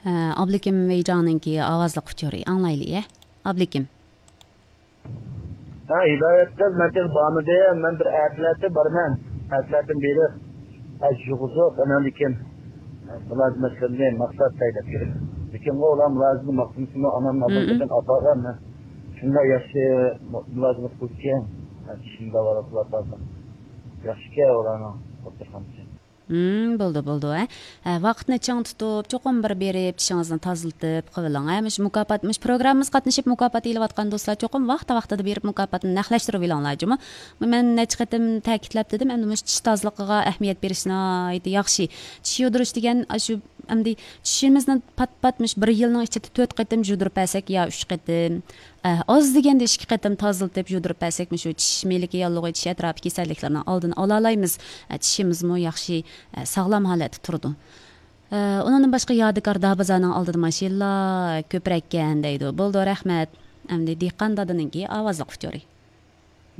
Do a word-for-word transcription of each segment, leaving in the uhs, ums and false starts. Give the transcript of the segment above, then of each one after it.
ئابلىكىم ۋېيجاڭنىڭكى ئاۋازلىق ئۇچۇرى، ئاڭلايلى، ئە؟ ئابلىكىم. ھە، ھىدايەت قىز، مەن تېخى بارمىدىم. مەن بىر ئەتىلەتتە بارىمەن. ئەتىلەتتىن بېرىپ، ئەز يۇغۇزۇپ، ئاناندىن كېيىن مۇلازىمەتلىرىنى ماقسات سەيلەپ كىرىپ. لېكىن ئۇ ئۇلار مۇلازىمەت ماقسىتىنى ئانامنى ئالدىن ئاپارغان. شۇنداق ياخشى مۇلازىمەت قىلىدىكەن. شۇنداق ۋاراقلار بارغان. ياخشىكەن ئۇلارنىڭ دوختۇرخانىسى. ھىم، بولدى، بولدى، ھە. ھە، ۋاقىتنى چىڭ تۇتۇپ، چوقۇم بىر بېرىپ، چىشىڭىزنى تازىلىتىپ قىلىۋېلىڭ، ھە. مۇشۇ مۇكاپات، مۇشۇ پروگراممىمىزغا قاتنىشىپ مۇكاپات ئېلىۋاتقان دوستلار چوقۇم ۋاقتى-ۋاقتىدا بېرىپ مۇكاپاتنى نەقلەشتۈرۈۋېلىڭلار، جۇمۇ. مەن نەچچە قېتىم تەكىتلەپ دېدىم، ئەمدى مۇشۇ چىش تازىلىقىغا ئەھمىيەت بېرىش ناھايىتى ياخشى. چىش يۇدۇرۇش دېگەن، ئاشۇ ئەمدى چىشىمىزنى پات-پات مۇشۇ بىر يىلنىڭ ئىچىدە تۆت قېتىم يۇدۇرۇپ بەرسەك يا ئۈچ قېتىم، ئە، ئاز دېگەندە ئىككى قېتىم تازىلىتىپ يۇدۇرۇپ بەرسەك، مۇشۇ چىش مېلىكى ياللۇغى، چىش ئەتراپى كېسەللىكلىرىنىڭ ئالدىنى ئالالايمىز. ئە، چىشىمىزمۇ ياخشى، ئە، ساغلام ھالەتتە تۇرىدۇ. ئە، ئۇنىڭدىن باشقا يادىكار دابازارنىڭ ئالدىدا ماشىنىلار كۆپرەككەن دەيدۇ. بولدى، رەھمەت. ئەمدى دېھقان دادىنىڭكى ئاۋازلىق ئۇچۇرى.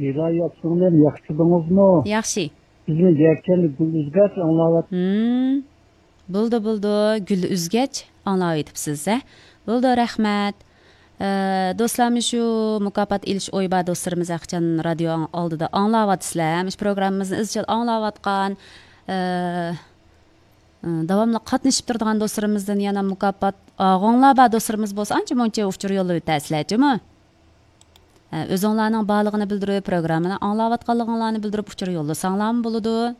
ھىدايەت سىڭلىم، ياخشىدىڭىزمۇ؟ ياخشى. بىزمۇ يەككەندە گۈل ئۈزگەچ ئاڭلاۋاتىمىز. ھىم. بولدى، بولدى. گۈل ئۈزگەچ ئاڭلاۋېتىپسىز، ھە؟ بولدى، رەھمەت. ئە، دوستلار، مۇشۇ مۇكاپات ئېلىش ئويى بار دوستلىرىمىز ھەقىچان رادىيو ئالدىدا ئاڭلاۋاتىسىلەر. مۇشۇ پروگراممىمىزنى ئىزچىل ئاڭلاۋاتقان، ئە، ئە، داۋاملىق قاتنىشىپ تۇرىدىغان دوستلىرىمىزدىن يەنە مۇكاپات ئالغۇڭلار بار دوستلىرىمىز بولسا، ئانچە مۇنچە ئۇچۇر يوللاۋېتەرسىلەر، جۇمۇ؟ ئە، ئۆزۈڭلارنىڭ بارلىقىنى بىلدۈرۈپ، پروگراممىنى ئاڭلاۋاتقانلىقىڭلارنى بىلدۈرۈپ ئۇچۇر يوللىساڭلارمۇ بولىدۇ.